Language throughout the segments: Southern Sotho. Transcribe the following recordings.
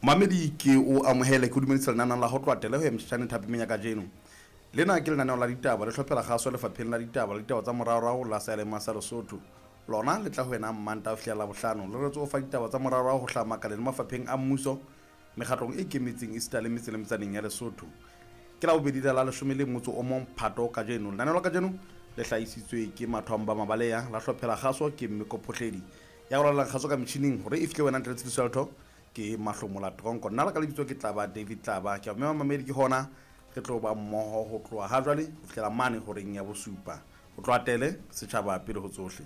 Mamedi ke o amohele ke o dumedisa lenaneo la ho tloha teleho ya motjhatjhane thapemeng ya kajeno. Lena ke lenaneo la ditaba le hlophela kgaso lefapheng la ditaba le ditaba tsa moraorao la Sealema sa Lesotho. Lona le tla ho wena Mmanta ho fihlela Labohlano. Le retse ho fa ditaba tsa moraorao ho hlaha makaleng le mafapheng a mmuso, mekgatlong e ikemetseng esita le metse le metsaneng ya Lesotho. Ke Labobedi la la leshome le motso o mong Phato kajeno. Lenaneo la kajeno le hlahisitswe ke Mathwang ba Mabaleya, la hlophela kgaso ke Mmeko Phohledi. Ya go lalela kgaso ka metjhining hore e fihle wena ntle le tshitiso ya letho ke Mahlomola Tronko. Nna la ka lebitso ke Tlaba David Tlaba. Ke a mema mamedi ke hona re tlo ba mmoho ho tloha ha jwale ho fihlela mane horeng ya bosupa. Ho tloha tele setjhaba pele ho tsohle.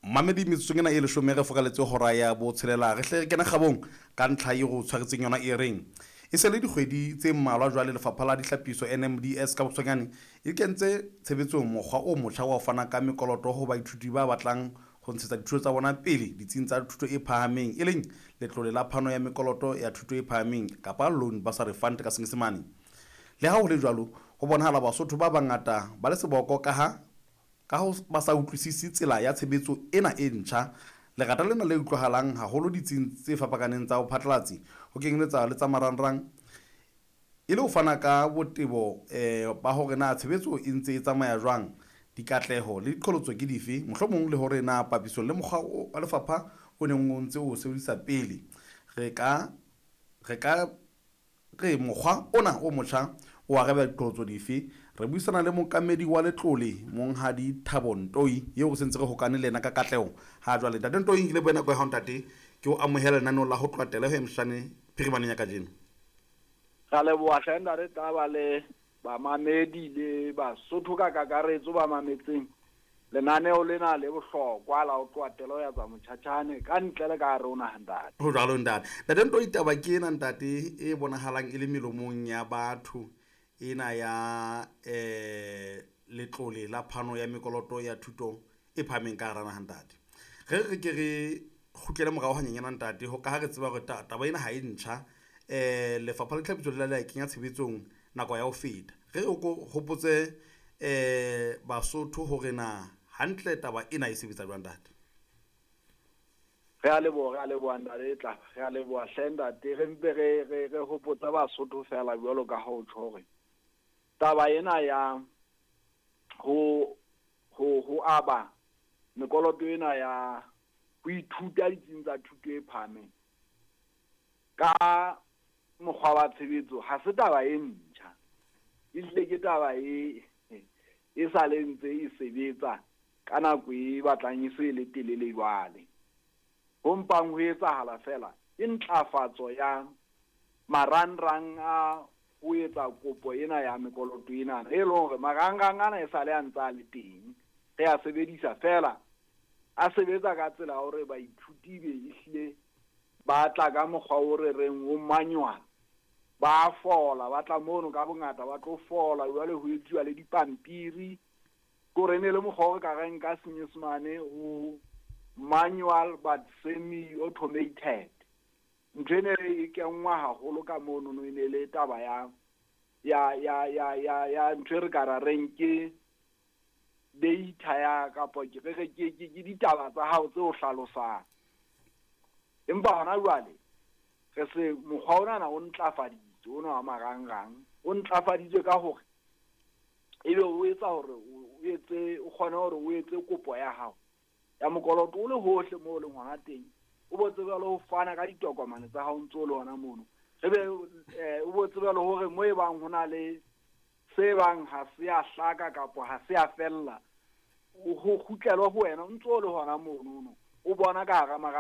Mamedi metsotsong ena e leshome re fokaletse hora ya botshelela re hle re kena kgabong ka ntlha e go tshwaretseng yona e reng e se le dikgwedi tse mmalwa jwale lefapha la dihlapiso NMDS ka bokgutshwanyane e kentse tshebetsong mokgwa o motjha wa ho fana ka mekoloto ho baithuti ba batlang ho ntshetsa dithuto tsa bona pele ditsing tsa thuto e phahameng e leng letlole la phano ya mekoloto ya thuto e phahameng kapa loan bursary fund ka senyesemane. Le ha ho le jwalo, ho bonahala Basotho ba bangata ba le seboko kaha Ka ho ba sa utlwisise tsela ya tshebetso ena e ntjha, lerata lena le utlwahalang haholo ditsing tse fapakaneng tsa bophatlalatsi, ho kenyeletsa le tsa marangrang, e le ho fana ka botebo ba hore na tshebetso e ntse e tsamaya jwang, dikatleho le diqholotso ke dife, mohlomong le hore na papisong le mokgwa wa lefapha o neng o ntse o o sebedisa pele, re ka re ka Re mokgwa ona o motjha o arabela diqholotso dife? Re buisana le mookamedi wa letlole, Monghadi Thabo Ntoi, eo re sentse re hokane le yena ka katleho ha jwale. Ntate Ntoi, ke lebohe nako ya hao ntate. Ke o amohela lenaneong la ho tloha teleho ya Mshane phirimaneng ya kajeno. Ra leboha hle ntate Taba le bamamedi le Basotho ka kakaretso ba mametseng lenaneo lena le bohlokwa la ho tloha telo ya tsa motjhatjhane ka ntle le ka hare ho naha ntate. Ho jwalo ntate. Ntate Ntoi, taba ke ena ntate e bonahalang e le melomong ya batho ena ya letlole la phano ya mekoloto ya thuto e phahameng ka hara naha ntate. Re re ke re kgutlele morao hanyenyana ntate, ho ka ha re tseba hore taba ena ha e ntjha. Lefapha la Ditlhapiso le la kenya tshebetsong nako ya ho feta. Re re ko hopotse Basotho hore na hantle taba ena e sebetsa jwang ntate. Re a leboha, re a leboha ntate Tlaba, re a leboha hle ntate. Re mpe re re re hopotse Basotho fela jwalo ka ha o tjho hore taba ena ya ho ho ho aba mekoloto ena ya ho ithuta ditsing tsa thuto e phahameng ka mokgwa wa tshebetso ha se taba e ntjha, ehlile ke taba e e sa le ntse e sebetsa ka nako e batlang e se e le telele jwale. Ho mpang ho etsahala feela ke ntlafatso ya marangrang a ho etsa kopo ena ya mekoloto ena, e leng hore marangrang ana e sale a ntse a le teng, re a sebedisa feela a sebetsa ka tsela ya hore baithuti be ehlile ba tla ka mokgwa o re reng o manual, ba fola, ba tla mono ka bongata ba tlo fola, jwale ho etsuwa le dipampiri. Ke hore e ne le mokgwa o re ka reng ka senyesemane o manual but semi automated. Ntho e ne e kenngwa haholo ka monono e ne le taba ya ya ya ya ya ya ntho e re ka ra reng ke data ya kapa ke re re ke ke ditaba tsa hao tse o hlalosang. Empa hona jwale re se mokgwa ona o ntlafaditswe ona wa marangrang o ntlafaditswe ka hore ebe o etsa hore o etse o kgone hore o etse kopo ya hao ya mokoloto o le hohle moo o leng hona teng, o bo tsebe le ho fana ka ditokomane tsa hao ntse o le hona mono. Re be o bo tsebe le hore mo e bang ho na le se bang ha se a hlaka kapa ha se a fella, ho kgutlelwa ho wena o ntse o le hona mono, o bona ka hara